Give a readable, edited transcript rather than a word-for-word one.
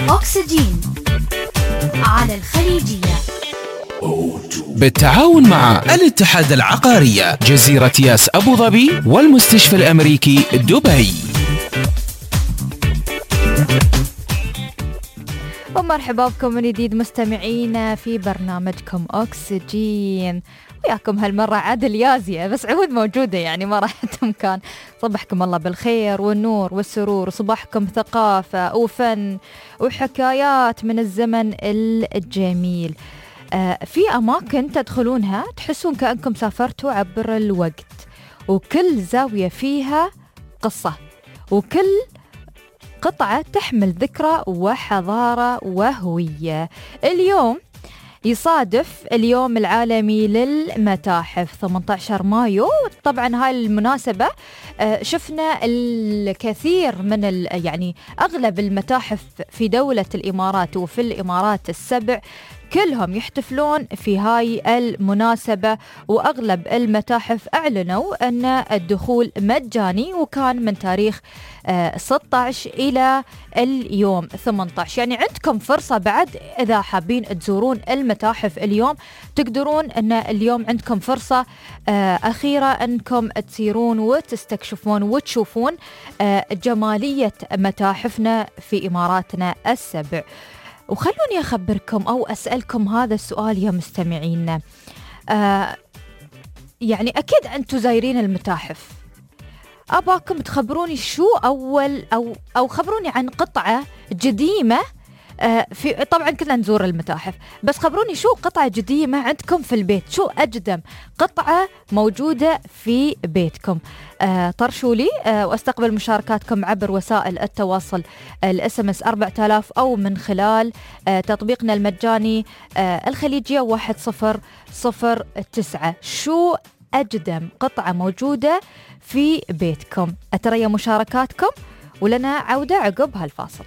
أكسجين على الخليجية بالتعاون مع الاتحاد العقارية جزيرة ياس أبو ظبي والمستشفى الأمريكي دبي. ومرحبا بكم من جديد مستمعينا في برنامجكم أكسجين، وياكم هالمرة عادل يازية، بس عود موجودة يعني ما راحت مكان. صبحكم الله بالخير والنور والسرور، وصباحكم ثقافة وفن وحكايات من الزمن الجميل. في أماكن تدخلونها تحسون كأنكم سافرتوا عبر الوقت، وكل زاوية فيها قصة، وكل قطعة تحمل ذكرى وحضارة وهوية. اليوم يصادف اليوم العالمي للمتاحف 18 مايو. طبعا هاي المناسبة شفنا الكثير من يعني أغلب المتاحف في دولة الإمارات وفي الإمارات السبع كلهم يحتفلون في هاي المناسبة، وأغلب المتاحف أعلنوا أن الدخول مجاني، وكان من تاريخ 16 إلى اليوم 18. يعني عندكم فرصة بعد إذا حابين تزورون المتاحف اليوم، تقدرون أن اليوم عندكم فرصة أخيرة أنكم تسيرون وتستكشفون وتشوفون جمالية متاحفنا في إماراتنا السبع. وخلوني أخبركم أو أسألكم هذا السؤال يا مستمعين. يعني أكيد أنتم زايرين المتاحف، أباكم تخبروني شو أول أو خبروني عن قطعة قديمة في. طبعا كلنا نزور المتاحف، بس خبروني شو قطعة قديمة عندكم في البيت، شو أقدم قطعة موجودة في بيتكم. طرشوا لي واستقبل مشاركاتكم عبر وسائل التواصل، الSMS 4000 أو من خلال تطبيقنا المجاني الخليجية 1009. شو أقدم قطعة موجودة في بيتكم؟ أترى مشاركاتكم، ولنا عودة عقب هالفاصل.